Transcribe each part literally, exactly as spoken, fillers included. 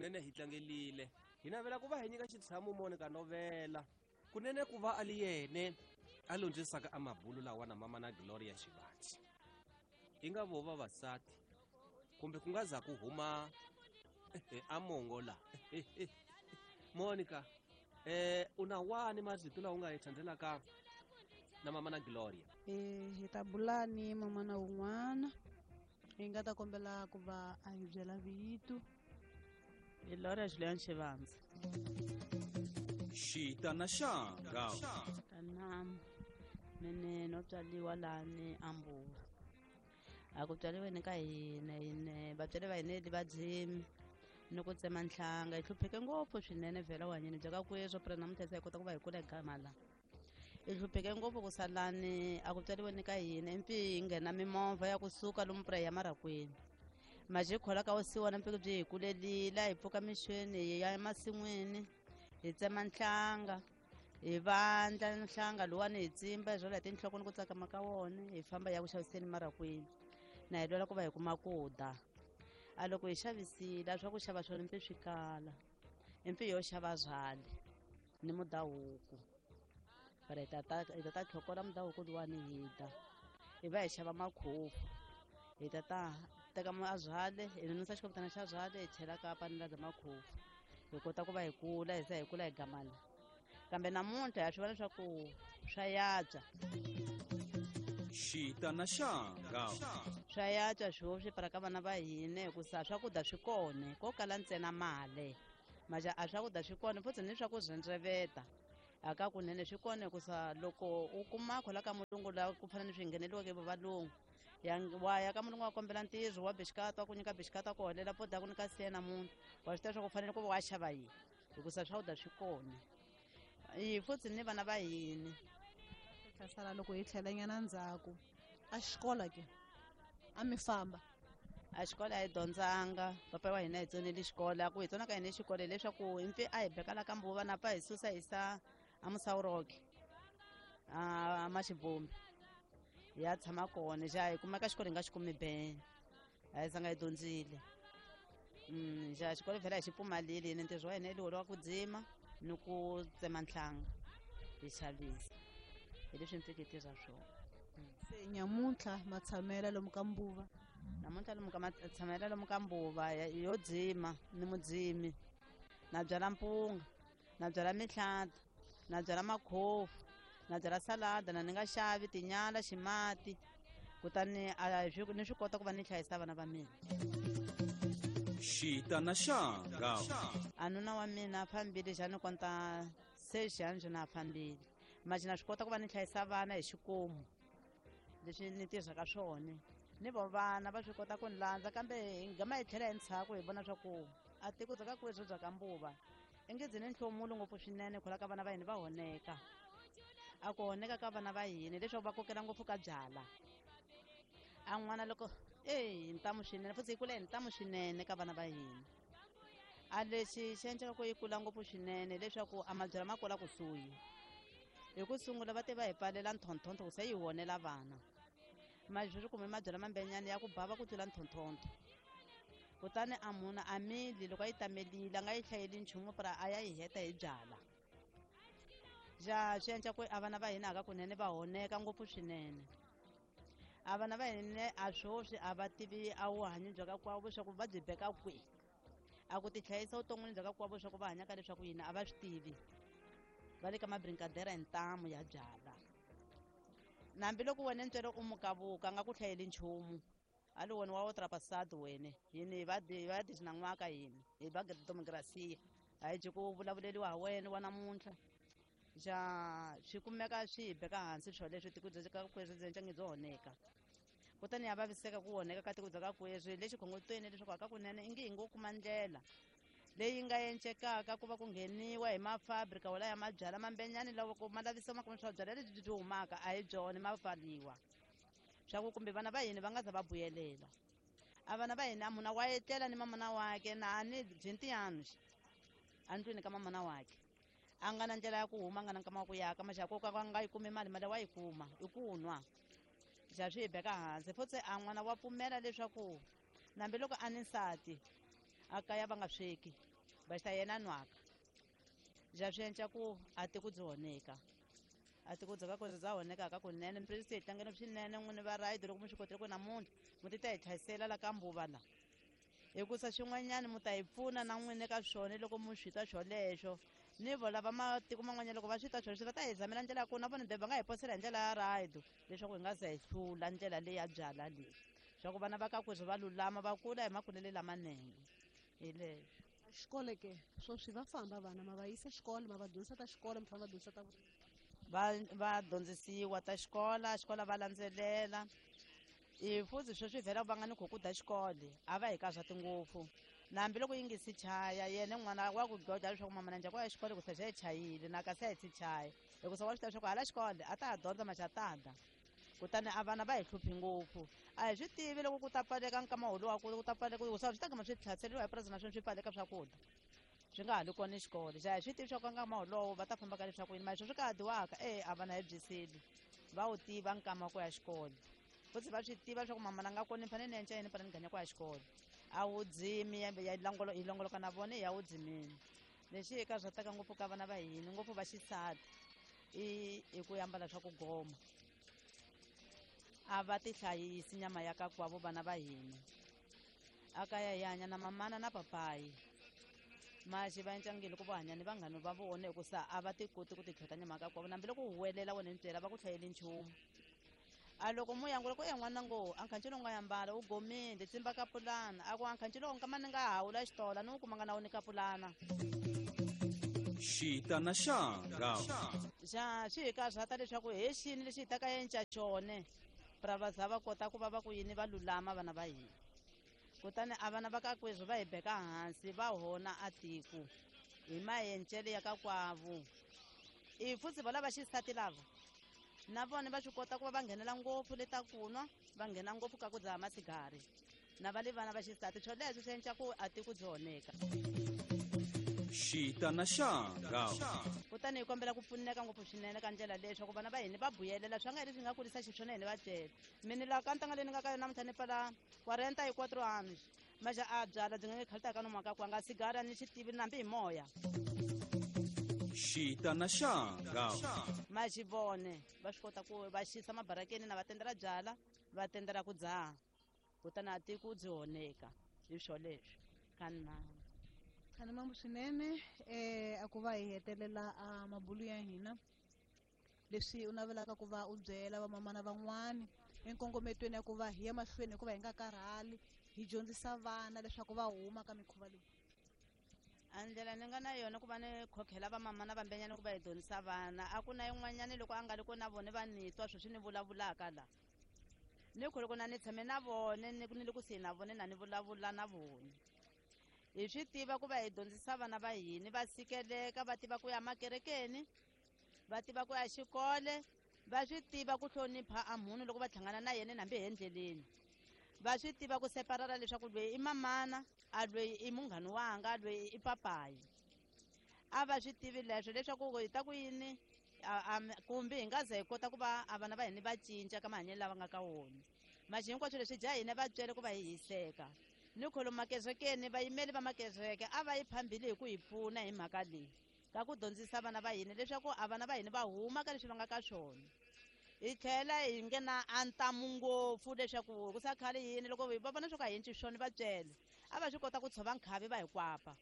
Kunene hi tlangelile. Hi navela ku va hi nyika xitshamo Monica Novela. Kunene ku va a li yene a londzisaka a mabulu lawa na mama na Gloria Xivati. I nga vo vavasati kumbe ku nga za ku huma a mongo la. Monica, eh u na wani marito lawa u nga hi thandzelaka na mama na Gloria? Eh hi ta bula ni mama na un'wana. Hi nga ta kombela ku va a hi byela vito. Gloria Julian Xivandza. Xita na xanga. Tanam mene no tswaliwa lani ambuwa. A ku tswaliweni ka hina hina vatswari va hina va dzimi ni ku tsema nhlanga hi hlupheke ngopfu swinene vhela wanyini bya ka kweswo pra namuntlha se hi kota ku va hi kula gama la. Hi hlupheke ngopfu ku salani a ku tswaliweni ka hina impi hi nghena mimovha ya kusuka lomu pra ya marakwini. Maje khola ka osiwana mpiki byi hi kulelila hi pfuka mixweni hi ya emasin'wini hi tsema nhlanga hi vandla nhlanga luwani hi tsimba hi rhwala hi tinhloko ni ku tsakama ka wona hi famba hi ya ku xaviseni marakwini na hi lwela ku va hi kuma ku dya. A loko hi xavisile a swa ku xava swona mpi swi kala impi yo xava byali ni mudahuku para hi ta hi ta ta tlhokola mudahuku luwani hi dya hi va hi xava makhofu hi ta ta teka a byale hi nonisa xikoputana xa byale hi chela ka panela bya makhofu hi kota ku va hi kula hi za hi kula hi gamala kambe namuntlha ha swi vona leswaku swa yatswa. Xita na xanga. Swa yatswa swo swi para ka vana va hina hikusa swakudya swi kona ko kala ntsena mali maja a swakudya swi kona futhi ni swa ku rhendzeveta a ka kunene swi kona hikusa loko u kuma khola ka mulungu la ku fana ni swi ngheneliweke hi valungu ya wa ya ka mulungu wa kombela ntirho wa bixikata wa ku nyika bixikata ku holela poda ku nyika siya namuntlha wa swi tiva swa ku fanele ku va wa xava yini hikusa swakudya swi kona hi futhi ni vana va hina. Hlasala loko hi tlhelanyana ndzhaku a xikolo ke a mi famba? A xikolo a hi dyondzanga papa wa hina hi tsonile xikolo a ku hi tsona ka hina xikolo hileswaku hi mpfi a hi bekala ka mbuva na pfa hi susa hi sa a Musawuroke a Maxibombi hi ya tshama kona xa hi kumeka xikolo hi nga xi kumi bene a hi zanga hi dyondzile. Xa xikolo vhela hi xi pfumalile hina ntirho wa hina hi wa ku dzima ni ku tsema nhlanga hi xavisa hi leswi mpfike hi tirha swona. Se nyamuntlha matshamela lomu ka mbuva? Namuntlha lomu ka matshamela lomu ka mbuva yo dzima ni mudzimi na byala mpunga na byala mihlata na byala makhofu na byala salada na ni nga xavi tinyala ximati kutani a ni swi kota ku va ni hlayisa vana va mina. Xita na xanga. A nuna wa mina a fambile xa ni konta se xanjo na fambile maji na swi kota ku va ni hlayisa vana hi xikomu leswi ni tirhaka swona ni vo vana va swi kota ku ni landza kambe hi gama hi tlhela hi ndzhaku hi vona swa ku a tiko bya ka kweswo bya ka mbuva i nge byi ni nhlomulo ngopfu swinene khola ka vana va hina va honeka. A ku honeka ka vana va hina leswaku va kokela ngopfu ka byala a n'wana loko e hi ntamu swinene futhi yi kula hi ntamu swinene ka vana va hina. A lexi xi endlaka ku yi kula ngopfu swinene leswaku a mabyala ma kula kusuhi hi ku sungula va te va hi pfalela nthonthonto ku se yi honela vana mali sweswi kume mabyala mambenyana ya ku bava ku tlula nthonthonto kutani a munhu a mili loko a yi tamelile a nga yi hlayeli nchumu pra a ya yi heta hi byala xa swi endla ku a vana va hina hakakunene va honeka ngopfu swinene. A vana va hina a swoswi a va tivi a vuhanyi bya ka kwavo swa ku va byi beka kwihi a ku tihlayisa vuton'wini bya ka kwavo swa ku va hanyaka leswaku yini a va swi tivi va le ka mabrinkadera hi ntamu ya byala. Hambiloko wena ntswele u mukavuka a nga ku hlayeli nchumu a li wena wa otrapasado wene yini va va dizinan'waka yini hi va demokrasiya a hi byi ku vulavuleliwa ha wena wa namuntlha xa swi kumeka swi hi beka hansi swo leswi tiko bya ka kweswi byi ncangi byo honeka kutani ya vaviseka ku honeka ka tiko bya ka kweswi lexi khongotweni leswaku a ka kunene i nge hi ngo kuma ndlela leyi nga encekaka ku va ku ngheniwa hi mafabrika wala ya mabyala mambenyani loko ma lavisiwa ma kuma swa byala lebyi byi humaka a hi byona ma pfaliwa swa ku kumbe vana va hina va nga za va vuyelela. A vana va hina munhu wa etlela ni mamana wakhe na ni byi ntiyano andlwini ka mamana wakhe a nga na ndlela ya ku huma a nga na nkama wa ku yaka maxaka ko ka nga yi kumi mali mali wa yi kuma i ku nwa xa swi hi beka hansi futhi a n'wana wa pfumela leswaku nambi loko a ni nsati a kaya va nga sweki Baxita yena nwaka ja swi endla ku a ti ku byi honeka a ti ku byi ka ku bya honeka ka kunene mprisi hi tlangela swinene n'wini va rayidi loko mi swi kotile ku namuntlha mi ti ta hi tlhayisela la ka mbuva la hikusa swin'wanyana mi ta hi pfuna na n'wini ka swona loko mi swi twa swolexo ni vo lava matiko man'wanyana loko va swi twa swolexo va ta hi zamela ndlela ya kona vona be va nga hi posela hi ndlela ya rayidi leswaku hi nga za hi hlula ndlela leyi ya byala leyi swa ku vana va ka kweswi va lulama va kula hi makulele lamanene hi leswo. Xikolo ke swoswi va famba vana ma va yisa xikolo ma va dyondzisa ta xikolo mi tlhela va dyondzisa ta va va dyondzisiwa ta xikola xikola va landzelela i futhi sweswi vhela va nga ni kho ku da xikolo a va hi ka swa tingopfu na hambiloko yi nge si chaya yena n'wana wa ku goda leswaku mama na njhani ku ya xikolo ku se xa yi chayile na kasi a yi si chaya hikusa wa swi tiva leswaku hala xikolo a ta ha dyondza maxatada kutani a vana va hi hluphi ngopfu a hi swi tivi loko ku ta pfaleka nkama wolowo ku ta pfaleka hikusa swi ta gama swi tlhaseriwa hi purasi naswona swi pfaleka swakudya swi nga ha li kona xikolo xa hi swi tivi swa ku nkama wolowo va ta famba ka leswaku yini mara swi ka ha dyiwaka e a vana hi byisile va wu tiva nkama wa ku ya xikolo futhi va swi tiva leswaku mama na nga kona ni fanele ni endla yini fanele ni ganya ku ya xikolo a wu dzimi ya longolo hi longoloka na vona ya wu dzimini lexi hi ka swa taka ngopfu ka vana va hina ngopfu va xisati i i ku ambala swa ku goma a va ti hlayisi nyama ya ka kwavo vana va hina a kaya hi hanya na mamana na papayi maxi va encangile loko va hanya ni vanghana va vona hikusa a va ti koti ku ti tlhota nyama ka kwavo nambi loko huwelela wena ni byela va ku hlayeli nchumu a loko muyangu loko e n'wana ngo a nkhancelo nga yambala u gomile tsimba ka pulana a ku a nkhancelo nkama ni nga hawula xitola ni wu kumanga na wu ni ka pulana xita na xanga xa swi hi karhata leswaku he xini lexi hi ta ka enca xone pra va za va kota ku va va ku yini va lulama vana va hina kutani a vana va ka kweswi va hi beka hansi va hona a tiko hi maencele ya ka kwavo i futhi va lava xisati lava na vona va swi kota ku va va nghenela ngopfu le ta kunwa va nghena ngopfu ka ku dzaha masigari na va le vana va xisati swoleswo swi endla ku a tiko byi honeka xita na xanga kutani hi kombela ku pfuneka ngopfu swinene ka ndlela leyi leswaku vana va hina va buyelela swa nga leswi nga kurisa xiswona hina va byela mina laha ka ntanga leyi ni nga ka yona namuntlha ni pfala quarenta y cuatro anos maxa a byala byi nga nge khalita ka nomaka ku anga sigara ni xi tivi nambi hi moya xita na xanga ma xi vone va swi kota ku va xisa mabarakeni na va tendela byala va tendela ku dzaha kutani a tiko byi honeka hi swoleswo ka nna khani mambo swinene eh a ku va hi hetelela a mabulu ya hina leswi u navelaka ku va u byela vamamana van'wani enkongometweni ya ku va hi ya mahlweni hikuva hi nga karhali hi dyondzisa vana leswaku va huma ka mikhuva leyi a ndlela ni nga na yona ku va ni khokhela vamamana vambenyana ku va hi dyondzisa vana a ku na yin'wanyani loko a nga ri ko na vona va ni twa sweswi ni vulavulaka la ni ku loko na ni tshame na vona ni ni le kusuhi na vona na ni vulavula na vona hi swi tiva ku va hi dyondzisa vana va hina va sikeleka va tiva ku ya makerekeni va tiva ku ya xikole va swi tiva ku hlonipha a munhu loko va hlangana na yena hambi hi endleleni va swi tiva ku separara leswaku loyi i mamana a loyi i munghana wanga loyi i papayi a va swi tivi leswo leswaku hi ta ku yini kumbe hi nga za hi kota ku va a vana va hina va cinca ka mahanyelo lava nga ka wona maxi hinkwaswo leswi dya hina va byele ku va hi hiseka ni kholo makerekeni vayimeli va makereke a va yi phambili hi ku hi pfuna hi mhaka leyi ka ku dyondzisa vana va hina leswaku a vana va hina va huma ka leswi va nga ka swona hi tlhela hi nghena a ntamu ngopfu leswaku ku sa khale yini loko va vona swo ka hi endli swona va byele a va swi kota ku tshova nkhavi va hi kwapa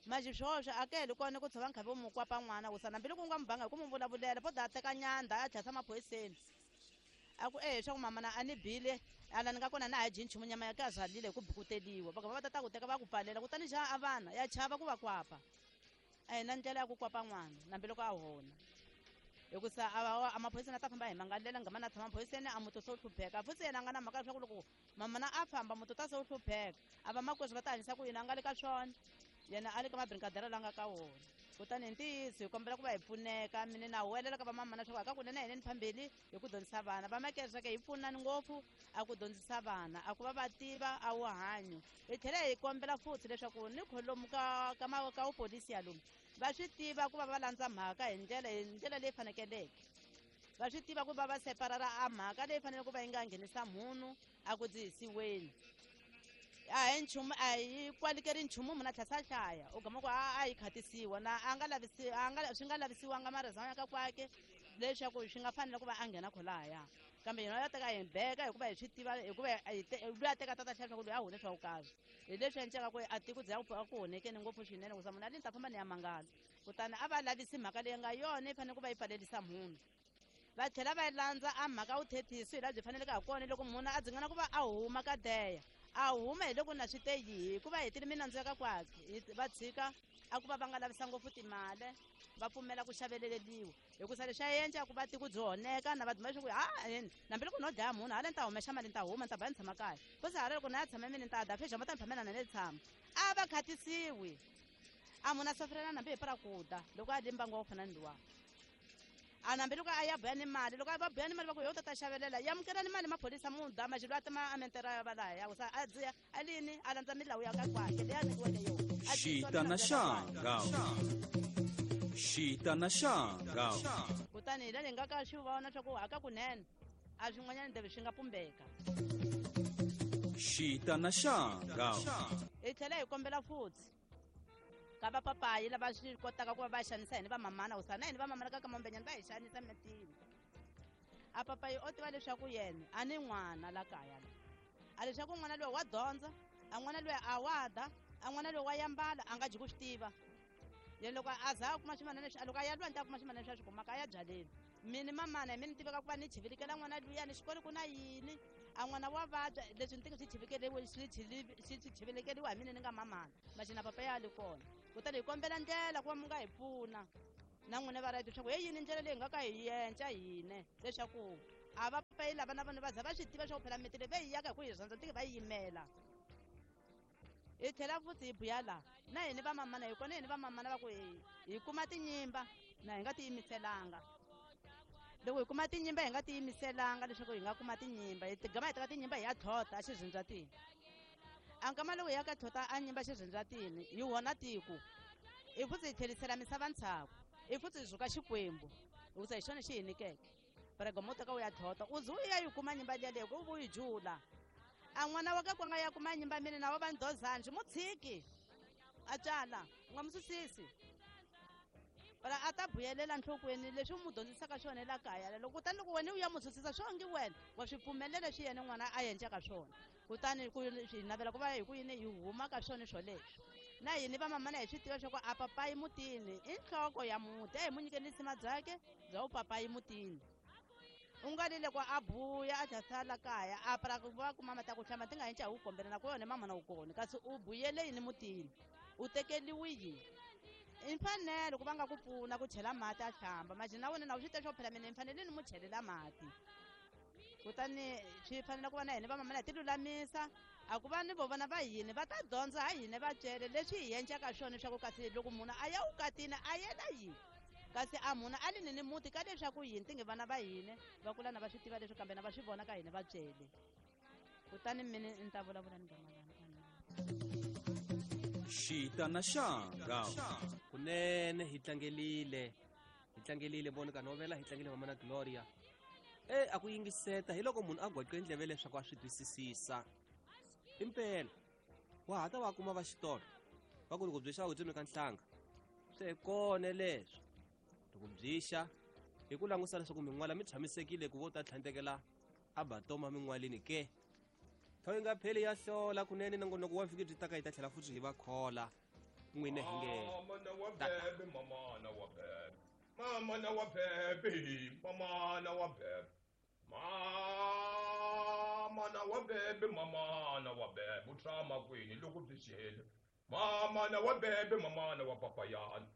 maxi swoswo a ke heli kona ku tshova nkhavi wo mu kwapa n'wana ku sa hambiloko u nga mu banga hi ku mu vulavulela po da teka nyanda a tlhasa maphoyiseni a ku e swa ku mamana a ni bile ala ni nga kona na ha dyi nchumu nyama ya ka zalile hi ku bukuteliwa va va ta ta ku teka va ku pfalela kutani xa a vana ya chava ku va kwapa a hi na ndlela ya ku kwapa n'wana hambiloko a hona hikusa a maphoyiseni a ta famba hi mangalela ngama na tshama maphoyiseni a muti se wu hlupheka futhi yena a nga na mhaka leswaku loko mamana a famba muti ta se wu hlupheka a va makweswi va ta hanyisa ku yini a nga le ka swona yena a le ka mabrinkadera la nga ka wona kutani hi ntiyiso hi kombela ku va hi pfuneka mina na huwelela ka vamamana leswaku a ka kunene hina ni phambili hi ku dyondzisa vana va makereke hi pfunani ngopfu a ku dyondzisa vana a ku va va tiva a wu hanyo hi tlhela hi kombela futhi leswaku ni kholomu ka ka ka wupolisi ya lomu va swi tiva ku va va landza mhaka hi ndlela hi ndlela leyi fanekeleke va swi tiva ku va va separara a mhaka leyi faneleke ku va yi nga nghenisa munhu a ku dzihisiweni A hi nchumu a hi kwalikeri nchumu munhu a tlhela a hlaya u gama ku a a yi khatisiwa na a nga lavisi a nga swi nga lavisiwanga marizana ya ka kwake leswaku swi nga fanela ku va a nghena kholaya kambe yena ya teka hi beka hikuva hi swi tiva hikuva loyi a teka tata hlaya leswaku loyi a hune swa vukarhi hi leswi endleka ku a tiko bya ku honekeni ngopfu swinene ku za munhu a li ni ta famba ni ya mangala kutani a va lavisi mhaka leyi nga yona yi fanele ku va yi pfalelisa munhu va tlhela va landza a mhaka vuthethisi hi laha byi faneleke ha kona loko munhu a dzingana ku va a huma ka deya a huma hi loko na swi te yihi hikuva hetile minandzu ya ka kwakhe va tshika a ku va va nga lavisa ngopfu timali va pfumela ku xaveleleliwa hikusa leswi a endla ku va tiko byi honeka na va duma leswaku ha hambi loko no dlaya munhu hala ni ta humexa mali ni ta huma ni ta ba ni tshama kaya fusi hala loko na ya tshama mini ni ta da fexama ta ni phamela na ni tshama a va khatisiwi a munhu a safirela nambi hi para ku da loko a dye mbangu wa ku fana ni luwa a nambi loko a ya buya ni mali loko a va buya ni mali va ku yo ta ta xavelela ya amukela ni mali maphorisa mu da maxilo a tima a mentera ya va laha ya kusa a dziya a lini a landza milawu ya ka kwakhe leyi a nyikiweke yona Xita na xanga Xita na xanga kutani hi la ni nga ka swi vona swa ku haka kunene a swin'wanyana ndebe swi nga pumbeka Xita na xanga hi tlhela hi kombela futhi ka vapapayi lava swi kotaka ku va va xanisa hini vamamana kusa na hini vamamana ka ka mambenyani va hi xanisa mitini a papayi o tiva leswaku yena a ni n'wana la kaya la a leswaku n'wana loyi wa dyondza a n'wana loyi a wa da a n'wana loyi wa yambala a nga dyi ku swi tiva yena loko a za a kuma swimanana leswi loko a ya lwandle a kuma swimanana leswi a swi kumaka a ya byaleni mini mamana hi mini tiveka ku va ni chivilikela n'wana luya ni xikolo ku na yini a n'wana wa vabya leswi ni tinge swi chivikeliwe swi swi chivilikeliwa hi mina ni nga mamana maxina papa ya li kona kutani hi kombela ndlela ku va mi nga hi pfuna na n'wina va right leswaku he yini ndlela leyi hi nga ka hi yenca hine leswaku a va papayi lava na vona va za va swi tiva swa ku phela miti leyi va yi yaka hi ku hi rhandza tinge va yi yimela hi tlhela futhi hi buya laha na hini vamamana hi kona hini vamamana va ku hi hi kuma tinyimba na hi nga tiyimiselanga loko hi kuma tinyimba hi nga tiyimiselanga leswaku hi nga kuma tinyimba hi tigama hi teka tinyimba hi ya tlhota a xirhindzatini a nkama loko hi ya ka tlhota a nyimba xirhindzatini hi wona tiko hi futhi hi tlherisela misava ntshaku hi futhi hi zuka xikwembu hikusa hi xona xi hi nyikeke pregomo u teka u ya tlhota u ze u ya yi kuma nyimba liya leyi ku u yi jula a n'wana wa ka kwanga ya kuma nyimba mina na wa va ndozanji mu tshiki a tswala u nga mu susisi para a ta buyelela nhlokweni leswi u mu dyondzisaka swona la kaya loko kutani loko wena u ya mu susisa swo nge wena wa swi pfumelela leswi yena n'wana a endlaka swona kutani ku hi navela ku va hi ku yini hi huma ka swona swoleswo na hini vamamana hi swi tiva swa ku a papayi mutini i nhloko ya muti a hi mu nyikeni risima byakhe bya u papayi mutini u nga li loko a buya a tlhela kaya a para ku va kuma mati ya ku hlamba ti nga henca hi wu kombela na ku yona mamana wu kona kasi u buyele yini mutini u tekeliwi yini i mfanelo ku va nga ku pfuna ku chela mati a hlamba manje na wena na u swi tiva swa ku phela mina ni fanele ni mu chelela mati kutani swi fanele ku va na hina vamamana hi ti lulamisa a ku va ni vo vana va hina va ta dyondza ha hina vatswele leswi hi endlaka swona swa ku kasi loko munhu a ya vukatini a yela yini kasi a munhu a li ni ni muti ka leswaku yini ti nge vana va hina va kula na va swi tiva leswi kambe na va swi vona ka hina vatswele kutani mina ni ta vulavula ni gamalana Xita na xanga kunene hi tlangelile hi tlangelile Monica Novela hi tlangele mama na Gloria e a ku yingiseta hi loko munhu a gwaqe ndleve leswaku a swi twisisisa impela wa ha ta va kuma va xitolo va ku loko byi xa u tsemi ka nhlanga swi kona leswo loko byi xa hi ku langusa leswaku min'wala mi tshamisekile ku vo ta tlhandlekela a batoma min'walini ke thawu yi nga pheli ya hlola kunene nongonoko wa vhiki byi taka yi ta tlhela futhi hi va khola n'wine hi nge Mamana wa bebe, mamana wa bebe. Mamana wa bebe, mamana wa bebe. Mamana wa bebe, mamana wa bebe. U tshama kwini loko byi xele? Mamana wa bebe, mamana wa papayana.